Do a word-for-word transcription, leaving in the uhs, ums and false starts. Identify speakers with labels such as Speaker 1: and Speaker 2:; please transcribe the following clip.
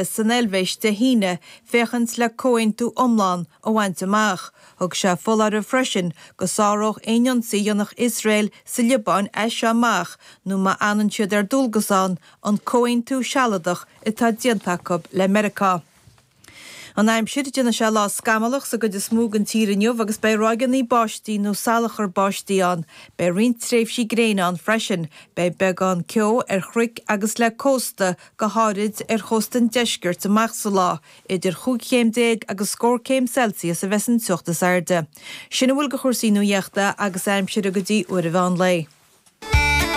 Speaker 1: san Eilvéis Dé hAoine féachaint le comhaontú iomlán a bhaint amach. Thug sé foláireamh freisin go sáródh aon ionsaí a dhéanfadh Iosrael sa Liobáin as seo amach nó má fhanann siad ar dualgas ann, an comhaontú sealadach atá déanta acu le Meiriceá. An aimsir, Déanfaidh sé lá scamallach sa gcuid is mó den tír inniu agus beidh ráigeanna báistí nó salachar báistí ann. Beidh roinnt tréimhsí gréine ann freisin. Beidh beagán ceo ar chnoic agus le cósta, go háirid ar chósta an deiscirt amach sa lá. Idir chúig chéim déag agus scór céim Celsius a bheas an teocht is airde. Sin a bhfuil de chúrsaí nuaíochta agus aimsire go dtí uair an mheán lae.